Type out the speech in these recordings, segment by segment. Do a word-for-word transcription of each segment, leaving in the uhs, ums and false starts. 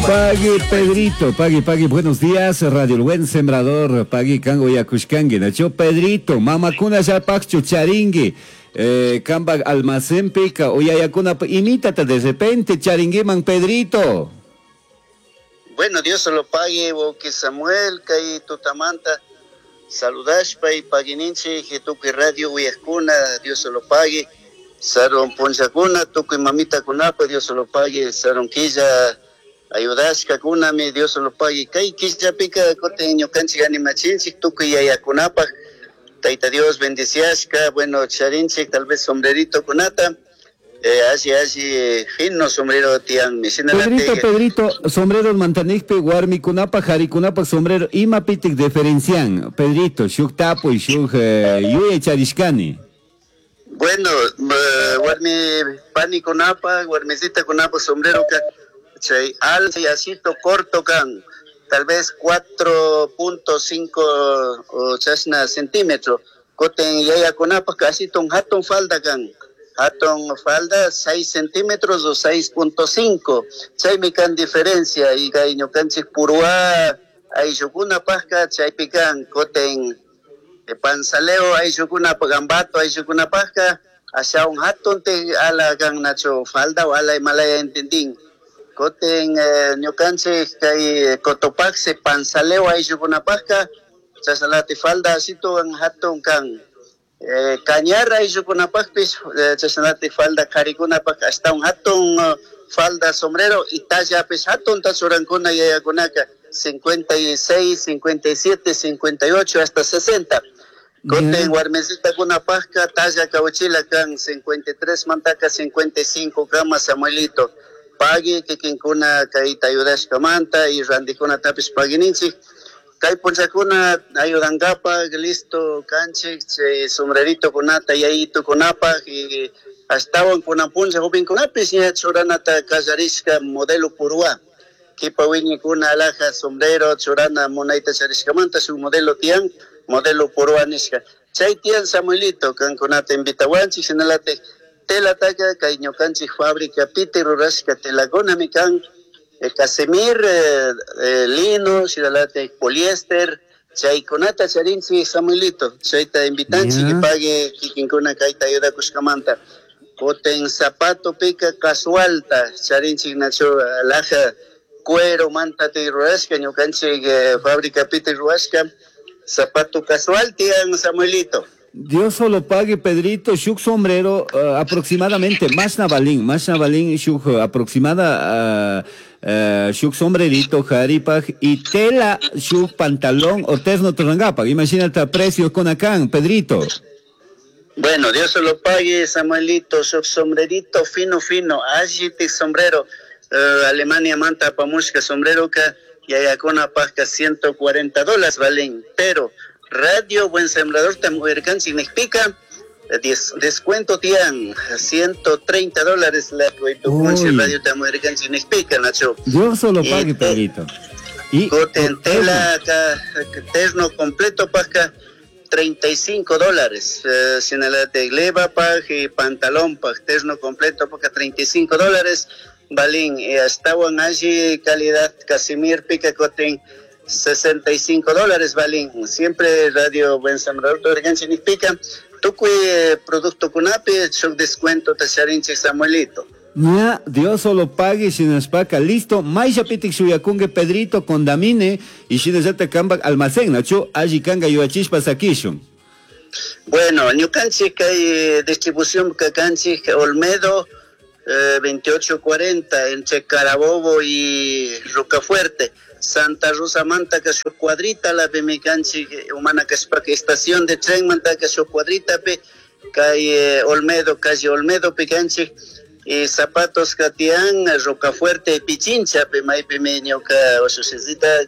Pagui Pedrito, pagui, pagui, buenos días, Radio El Buen Sembrador, pagui kango yakushkangi, nacho Pedrito, mamakuna llapakchu charingui, eh, kamba almacén pica, uyayakuna imítata de repente charinguiman Pedrito. Bueno, Dios se lo pague, Woki Samuel, kay tutamanta, saludashpa y paguininchi, tukuy radio uyakuna, Dios se lo pague, sarun punchakuna, tukuy mamita kunapa, Dios se lo pague, sarun quilla, ayudashka kunami, Dios se lo pague, kay quillapika kutin ñukanchik animachinchik, tukuy yayakunapaj, Taita Dios bendiciashka, bueno, charinchik, tal vez sombrerito kunata, eh, alli alli fino sombrero tian mi Pedrito, Pedrito, sombrero mantanikpi, warmikunapa, harikunapa sombrero, imapitik diferencian, Pedrito, shuk tapuy, shuk eh, yuyay charishkani. Bueno, eh, warmi panikunapa, warmisita kunapa sombrero ka, chay al asito corto kan, tal vez cuatro punto cinco o chasna centímetro, koten yaya kunapa casi ton hatun falda kan, hatun falda seis centímetros o seis punto cinco, chaymi kan diferencia y kay ñukanchik purwa ayllukuna pajka chaypi kan koten panzaleo ayllukuna gambato ayllukuna pajka ashawan hatun te ala kan nacho falda o ala malaya entendin koten eh, ñukanchik kay Cotopaxi panzaleo ayllukuna pajka chasalati falda asituwan hatun kan eh, cañar ayllukuna pajpis eh, chasalati falda qharikunapaj ashtawan hatun uh, falda sombrero y tallapis hatun tachurankuna yayakunaka cincuenta y seis, cincuenta y siete, cincuenta y ocho hasta sesenta. Koten warmisita pajka talla kawchila kan cincuenta y tres mantaka cincuenta y cinco kama Samuelito. Pagui kikinkuna kayta ayudashkamanta y randikuna tapis paguininchik. Kay punchakuna ayudankapaj listo kanchik chay sombrerito kunata yayito kunapaj y ashtawan kunan puncha jovenkunapis ña churanata kallarishka modelo purwa. Kipa wiñikuna alhaja sombrero churana munayta charishkamanta shuk modelo tiyan modelo purwa nishka. Chay tiyan Samuelito kankunata invitawanchik shinalate telataka kay ñukanchik fábrica piti rurashka telakunami kan eh, casemir, eh, eh, lino, shinalate poliéster, chaykunata charinchik Samuelito, chayta invitanchik Yeah. pague kikinkuna kayta ayudakushkamanta. Koten zapato pica casualta charinchik nacho alhaja cuero manta te rurashka ñukanchik eh, fábrica piti rurashka zapato casual tiyan Samuelito. Dios solo pague, Pedrito, shuk sombrero, uh, aproximadamente, más navalín, más navalín, shuk, uh, aproximada, uh, uh, shuk sombrerito, jaripaj, y tela, shuk pantalón o terno torangapaj. Imagínate precios con acá, Pedrito. Bueno, Dios se lo pague, Samuelito, shuk sombrerito fino, fino, allí sombrero, uh, Alemania manta pamushka sombrero ka, yayakuna pajka ciento cuarenta dólares valen, pero Radio Buen Sembrador Tamuercan significa des, descuento tian ciento treinta dólares la Uy. Radio Tamuercan significa, Nacho. Dios solo Y pague, te- Pedrito. Y Coten tela acá, terno completo pajka treinta y cinco dólares. Eh, sinalate gleba paj y pantalón paj, terno completo pajka treinta y cinco dólares. Balín, y hasta allí calidad Casimir pica coten sesenta y cinco dólares, Balín. Siempre Radio Buen Sembrador Torregan significa tucuy eh, producto kunapi, shuk descuento tacharinche Samuelito. Ya, Dios solo pague shinashpaka, listo. Maisha pitik shuyakungue Pedrito condamine y shinashata kamba almacén, nacho, allí kanga yuachishpa sakishun. Bueno, ñukanchik kay distribución kakanchik Olmedo, eh, veintiocho cuarenta entre Carabobo y Rocafuerte. Santa Rosa Manta que su cuadrita la pemicanchi humana que es estación de tren manta que su cuadrita pe calle Olmedo, calle Olmedo picanchi y zapatos Catián, Rocafuerte y Pichincha pe maipe meño ka oshosita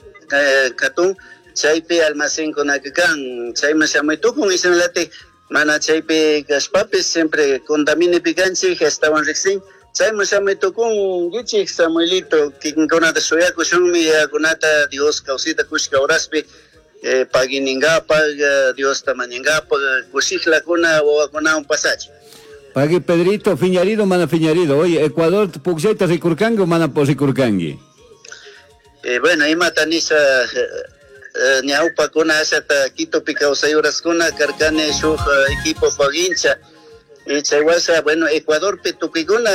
katun chaypi almacén con akkan chayma shamaytukun y late mana chaypi kashpapis siempre condamine picanchi estaban rixin chayma shamaytukun gichik Samuelito kikinkunata shuyakushunmi yakunata Dios kawsita kushka horaspi eh, paguiningapag Dios tamañingapag kushijlakuna wawakunawan pasachi. Pagui Pedrito, fiñarido mana fiñarido. Oye, Ecuador pukllayta rikurkangi o mana rikurkangi? Eh, bueno, imata nisha ñawpakuna ashata Quitopi kawsayuraskuna karkani shuk equipo pagincha. Y chay washa, bueno, Ecuadorpi tukuykuna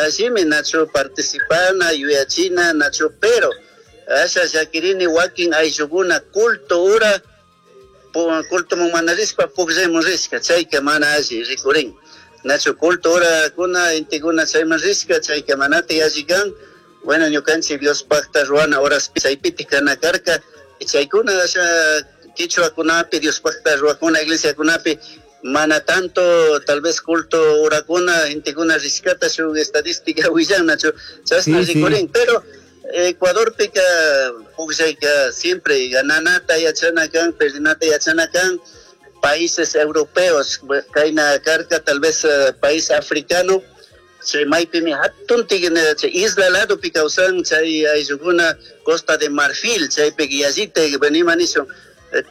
allimi nachu participana, yuyachina, nachu, pero asha llakirini wakin ayllukuna culto ura culto mana rishpa pukllaymun rishka, chayka mana alli rikurin. Nachu culto ura kuna intikuna chayman rishka, chayka manati alli kan. Bueno, ñukanchik Diospaqta ruwana horaspi chaypitik kana karka, chaykuna asha quichuakunapi Diospaqta ruwakuna iglesiakunapi mana tanto tal vez culto urakuna intikuna rishkata shuk estadística willan nachu chashna rikurin, pero Ecuadorpika pukllayka siempre gananata yachana kan, perdinata yachana kan. Países europeos kayna karka tal vez uh, país africano chay maypimi hatun chay isla ladopi kawsan chay ayllukuna Costa de Marfil chaypi yallita venima nishun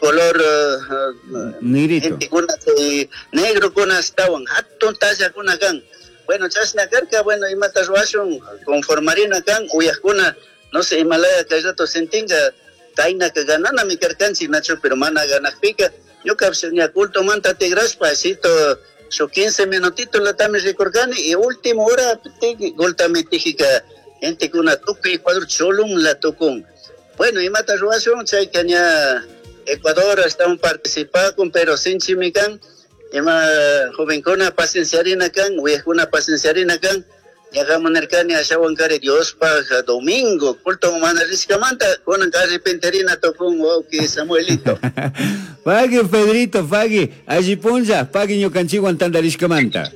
color uh, gentekuna chay negrokuna ashtawan hatun tallakuna kan. Bueno, chashna karka, bueno, imata ruwashun conformarina kan uyajkuna no sé imalaya kay rato sentinga kaynaka gananami karkanchik nachu, pero mana ganakpika ñuka ña culto manta tigrashpa asito su quince minutitos latami rikurkani y último hora goltami tijika gentekuna tukuy Ecuador cholun la tukun. Bueno, imata ruwashun chayka ña Ecuador astawan participakun, pero sinchimi kan ima jovenkuna pacienciarina kan, uyajkuna pacienciarina kan. Ñaqamun nirkani ashawan kari Diospaq domingo culto mana rishkamanta kunan arrepentirina tukun wawqi Samuelito. Pagui Pedrito, pagui, alli punlla, pagui ñukanchikwan tantarishkamanta.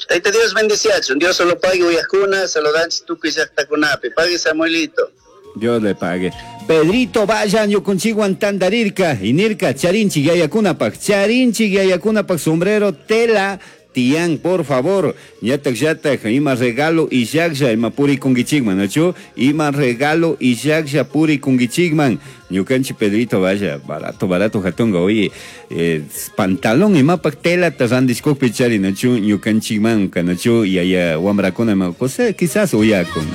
Tayta Dios bendeciachun, Dios solo pague uyajkuna, saludanchik tukuy llaqtakunapi. Pagui Samuelito. Dios le pague. Pedrito, vayan ñukunchikwan tantarirka, inirka, charinchik yayakunapaq, charinchik yayakunapaq sombrero, tela, tiyan, por favor, yatak yatak, ima regalo y llaqlla, ima purikunkichikman, ¿nachu? Ima regalo y llaqlla purikunkichikman. Ñukanchik Pedrito, vaya, barato, barato, jatonga, oye, eh, pantalón imapak tela randishkukpi chari, ¿nachu? Ñukanchikman, ¿nachu? Yaya wamrakuna, ima, cosa, quizás uyakun.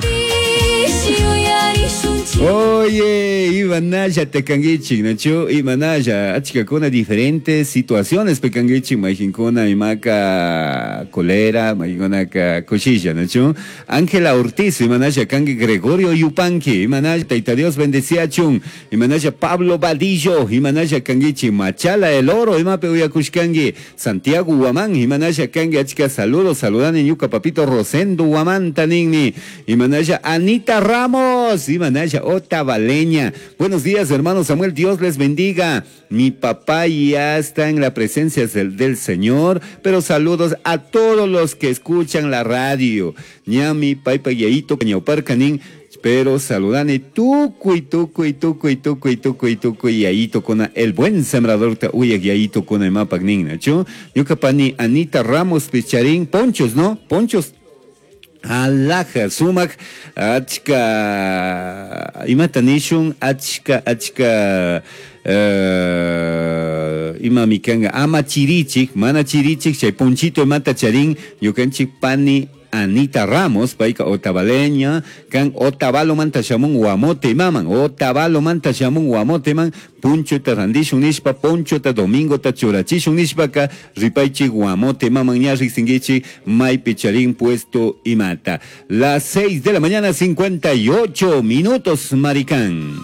Oye, imanalla tekangichik, nachu, imanalla, achkakuna diferentes situaciones pekangichik, mayjinkuna imaka colera, mayjinkunaka kushilla, nachu. Ángela Ortiz, imanalla kangi Gregorio Yupanqui, imanalla, Tayta Dios bendeciachun, imanalla Pablo Vadillo, imanalla kangichik, Machala el Oro, imape uyakushkangi, Santiago Huamán, imanalla kangi, achka saludos, saludani ñuka papito Rosendo Huamán taninni, imanalla Anita Ramos, imanalla Otavaleña. Buenos días, hermano Samuel, Dios les bendiga. Mi papá ya está en la presencia del, del Señor, pero saludos a todos los que escuchan la radio. Ñami, paipa, yaito, ñauparcanín, pero saludane tucuy, tucuy, tucuy, tucuy, tucuy, tucuy, yaito con el buen sembrador, ta uyak yaito con el mapa nin, nacho. Ñucapani, Anita Ramos, Picharín, ponchos, ¿no? Ponchos. Alaja, sumak, achka, imata nishun, achka, achka, uh, ima mikanga, ama chirichik, mana chirichik, chay ponchito imata charín, ñukanchik pani Anita Ramos, paika otavaleña, kan otavalo manta shamun guamote maman, otavalo manta shamun guamote man, puncho ta randishun nishpa, poncho ta domingo ta churachishun nishpaka, ripaichi guamote maman ña riksingichi, maypi charín puesto imata. Las seis de la mañana, cincuenta y ocho minutos, maricán.